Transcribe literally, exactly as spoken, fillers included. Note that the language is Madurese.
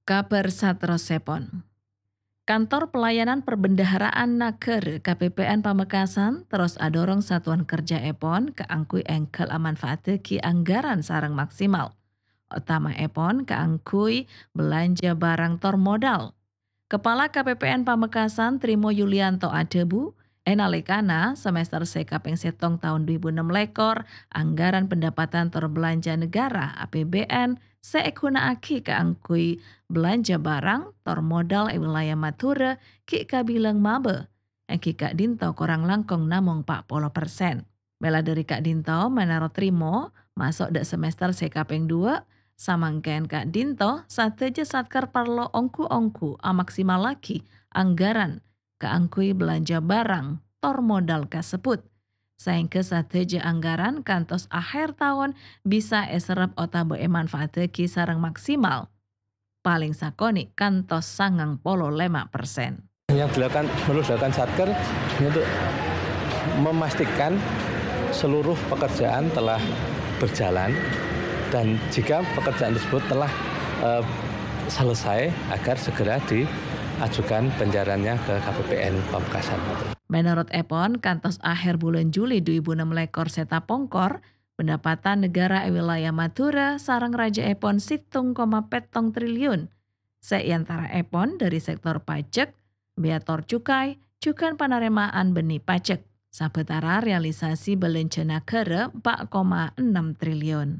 Kabhâr saterrossèpon. Kantor Pelayanan Perbendaharaan Nagara, K P P N, Pamekasan terros adhorong satuan kerjaèpon kaangghuy èngghâl amanfaataghi anggaran sareng maksimal, otama'èpon kaangghuy belanja barang tor modal. Kepala K P P N Pamekasan, Trimo Yulianto, adhâbu, è nalèkana semester sè kapèng sèttong taon dhu èbu ennem lèkor, anggaran pendapatan tor belanja negara, A P B N, sè èghuna'aghi kaangghuy belanja barang tor modal è wilayah Madhurâ ghi' kabilang mabâ, èngghi ka'dinto korang langkong namong pa' polo persen. Mèla dhâri ka'dinto, mènorot Trimo, maso' dâ' semester sè kapèng dua, samangkèn ka'dinto sadhâjâ satker parlo ongghu-ongghu amaksimallaghi anggaran kaangghuy belanja barang tor modal kasebbhut, saèngghâ sadhâjâ anggaran kantos akhèr taon bisa èserrep otabâ èmanfaataghi sareng maksimal, palèng sakonè' kantos sangang polo lèma persen. Yang dilakukan, perlu dilakukan Satker untuk memastikan seluruh pekerjaan telah berjalan dan jika pekerjaan tersebut telah, eh, selesai, agar segera diajukan pencairannya ke K P P N Pamekasan. Mènorot èpon, kantos akhèr bulân Juli dhu èbu ennem lèkor sè tapongkor, pendapatan negara è wilayah Madhurâ sareng rajâèpon sèttong koma pèttong triliun, sè èantaraèpon dhâri sektor pajek, bea tor cukai, jhughân panarèma'an bhennè pajek. Sabâtara realisasi belanja nagara empa' koma ennem triliun.